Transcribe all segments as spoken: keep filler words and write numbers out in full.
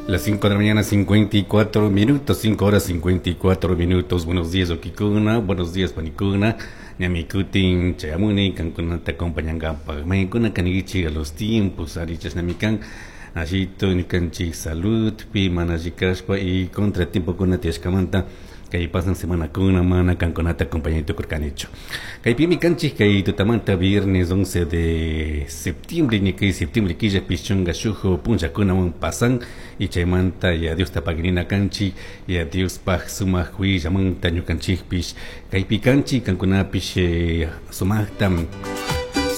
Las cinco de la mañana, cincuenta y cuatro minutos, cinco horas cincuenta y cuatro minutos. Buenos días, huauquicuna, buenos días, panicuna. Ñami cutin chayamuni, cancunata acompañangapaj. Mayancuna caniquichi a los tiempos, ari chashnami can. Ashito, ñukanchik salud, pi mana alli kashpa y contratiempokuna tiyashkamanta kay pasan semanakuna mana kankunata acompañay tukurkanichu. Kaypimi kanchik kay tutamanta viernes once de septiembre, ña kay septiembre killa pichunka shuk punllakunawan pasan y chaymanta ya Diosta paginina kanchik, ya Diospaj sumak willamanta ñukanchikpish kaypi kanchik, kankunapish eh, sumakta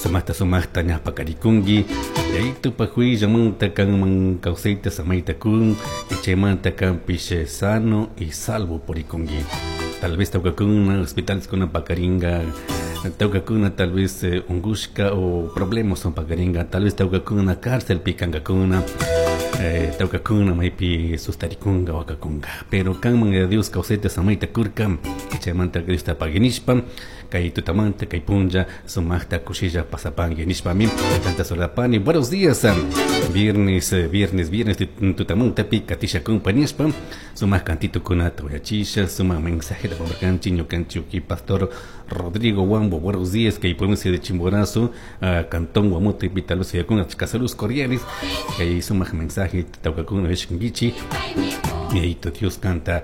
sumaqta sumaqta ñapakarikunki yayitupak willamanta kanman kawsayta samayta kun y chaymanta kanpish eh, sano y salvo purikunki. Tal vez tawkakuna hospitales kuna pakaringa, tawkakuna tal vez eh, ungushka o problemas son pakaringa, tal vez tawkakuna cárcel pikankakuna, eh, tawkakuna maypi sustarikunga, wakakunga, pero kanman eh, Dios kawsayta samayta kurka y chaymanta Diosta paginishpa kay tutamanta kay punlla sumaqta kushilla pasapanki nishpami tanta solapani. Buenos días, viernes, eh, viernes, viernes tutamantapi katisha compañíaspa sumaq cantito kunata uyachisha, sumaq mensaje de pamarkanchi ñukanchi pastor Rodrigo Huambo. Buenos días, kay provincia de Chimborazo, uh, cantón Guamote, tal vez yakuna saludos cordiales, kay sumaq mensaje tawkakuna vishkinkichi. Yayito Dios kanta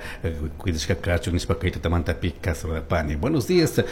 cuidashka kachun nishpa kay tutamantapi kasurapani. Buenos días.